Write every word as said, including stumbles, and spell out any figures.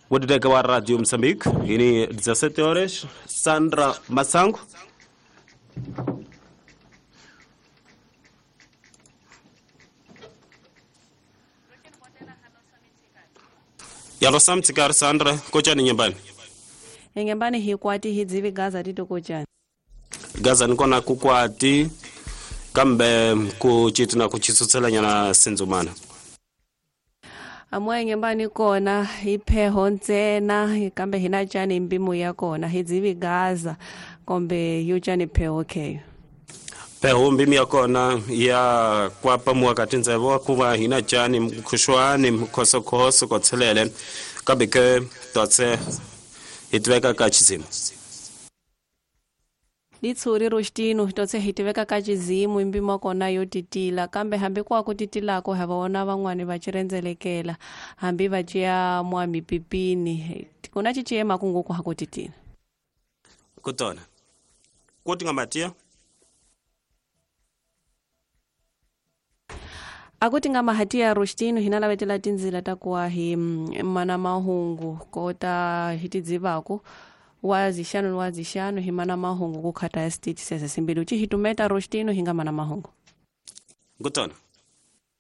Wodideka wa Radio Mozambique ini dezessete horas. Sandra Masango. Yalo samtsikari Sandra kochani nyumbani. Nyumbani hikwati hidzivi gaza titokochani. Gaza nikona kukwati kambe kuchitina kuchitsutsela nyana sinzumana. Amwe nyumbani kona ipheho ntsena kambe hina chani mbimu ya kona hidzivi gaza kombe yuchani pheho keyo. Pheho mbimu ya kona ya kwapa muwakati nzevo kuva hina chani mkhushwani mkhosokhoso kotselele kambe ke totse hitiveka ka chizimu. Litsuri rostino totse hitiveka ka chizimu mbimo kona yo titila kambe hambi kwa kutitilako havaona van'wani va chirendzelekela hambi va ciya mwa mipipini kuna chichema kunguku hakutitila. Kutona kuti ngamatia akuti nga mahatia rostino hina lavetela tindzila ta kuwa hi mana mahungu kota hitidzivako wazixano wazixano hi mana mahungu ku khata ya state sese simbili uchi hitumeta rostino hinga mana mahungu. Ngutona.